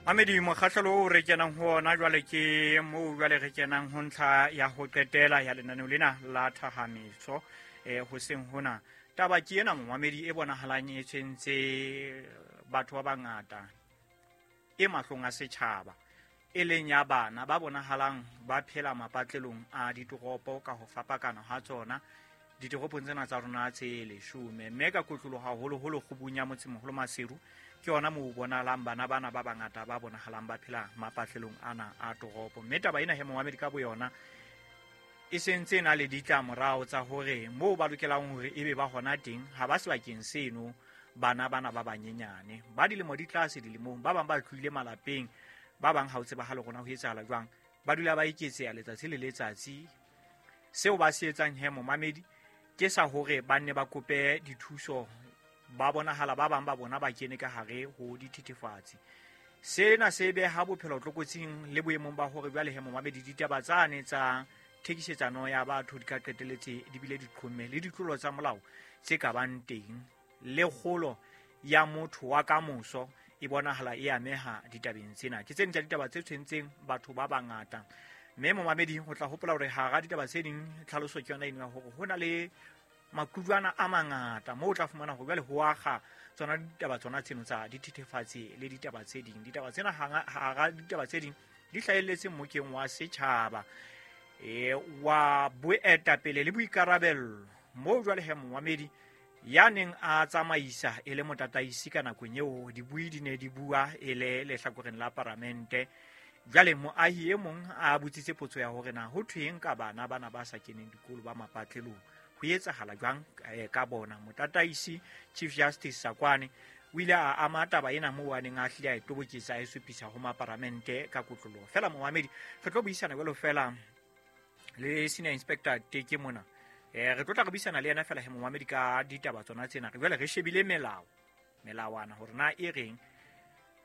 Mamedi, mokgahlelo o re kenang ho ona jwale ke moo jwale re kenang ho ntlha ya ho qetela ya lenaneo lena la thahametso hoseng hona. Taba ke ena, momamedi, e bonahalang e tshwentse batho ba bangata, e mahlong a setjhaba, e leng ya bana ba bonahalang ba phela mapatlelong a ditoropo ka ho fapakana ha tsona ditoropong tsena tsa rona tse 10, mme ka kotloloho haholoholo kgubung ya motsemoholo Maseru. Ke yona moo bonahalang bana bana ba bangata ba bonahalang ba phela mapatlelong ana a toropo. Mme taba ena he, momamedi, ka boyona e sentse e na le ditlamorao tsa hore moo ba lokelang hore ebe ba hona teng ha ba sebakeng seno. Bana bana ba banyenyane ba dilemo di tlase dilemong, ba bang ba tlohile malapeng, ba bang ha o tsebahale rona ho etsahala jwang, ba dula ba eketseha letsatsi le letsatsi. Seo ba se etsang he, momamedi, ke sa hore ba nne ba kope dithuso. Ba bonahala ba bang ba bona ba kene ka hare ho dithethefatsi. Sena se beha bophelo tlokotsing le boemong ba hore jwale he, momamedi, ditaba tsane tsa thekisetsano ya batho di ka qeteletse di bile di qhomme le ditlolo tsa molao tse ka bang teng, le kgolo ya motho wa kamoso e bonahala e ameha ditabeng tsena. Ke tse ding tsa ditaba tse tshwentseng batho ba bangata. Mme momamedi, ho tla hopola hore hara ditaba tse ding, tlhaloso ke yona eno ya hore ho na le maqulwana a mangata moo o tla fumana hore jwale ho akga tsona ditaba tsona tseno tsa dithethefatsi le ditaba tse ding. Ditaba tsena, hara ditaba tse ding, di hlahelletse mmokeng wa setjhaba wa boetapele le boikarabello, moo jwale he, momamedi, ya neng a tsamaisa e le motataisi ka nakong eo dibui di ne di bua e le lehlakoreng la paramente. Jwale moahi e mong a botsitse potso ya hore na ho thweng ka bana bana ba sa keneng dikolo ba mapatlelong, ho etsahala jwang ka bona. Motataisi, Chief Justice Sakwane, o ile a ama taba ena moo a neng a hlile a e toboketsa, a e supisa ho maparamente ka kotloloho. Fela momamedi, re tlo buisana jwalo fela le Senior Inspector Teke mona. Re tlo tla re buisana le yena fela he, momamedi, ka ditaba tsona tsena. Re jwale re shebile melao, melawana hore na e reng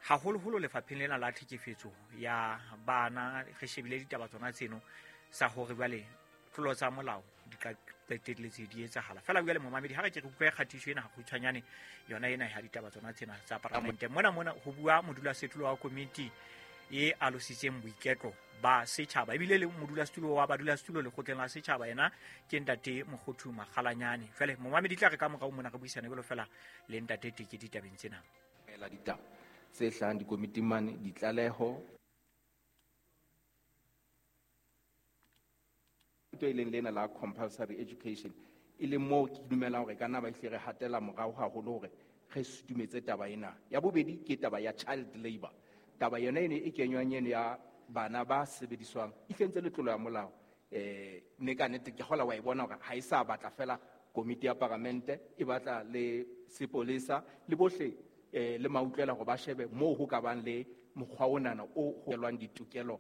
haholoholo lefapheng lena la tlhekefetso ya bana. Re shebile ditaba tsona tseno sa hore jwale tlolo tsa molao di ka qetelletse di etsahala. Fela jwale, momamedi, ha re ke re utlwe kgatiso ena kgutshwanyane yona ena ya ditaba tsona tsena tsa paramente. Mona ho bua modulasetulo wa komiti e alositseng boiketlo ba setjhaba, ebile le modulasetulo wa badulasetulo lekgotleng la setjhaba, yena ke ntate Mokgothu Makgalanyane. Jwale, momamedi, tla re ka morao mona re buisane jwalo fela le ntate Teke ditabeng tsena. La ditaba tse hlahang dikomiting mane, ditlaleho e leng lena la compulsory education, e leng moo ke dumelang hore ka nna ba ehlile re hatela morao haholo hore re sutumetse taba ena. Ya bobedi ke taba ya child labor. Taba yona eno e kenywang eno ya bana ba sebediswang e hlentse le tlolo ya molao, mme ka nnete ke kgola wa e bona hore ha e sa batla fela komiti ya paramente, e batla le sepolesa le bohle le mautlwela hore ba shebe moo ho ka bang le mokgwa onana o holwang ditokelo.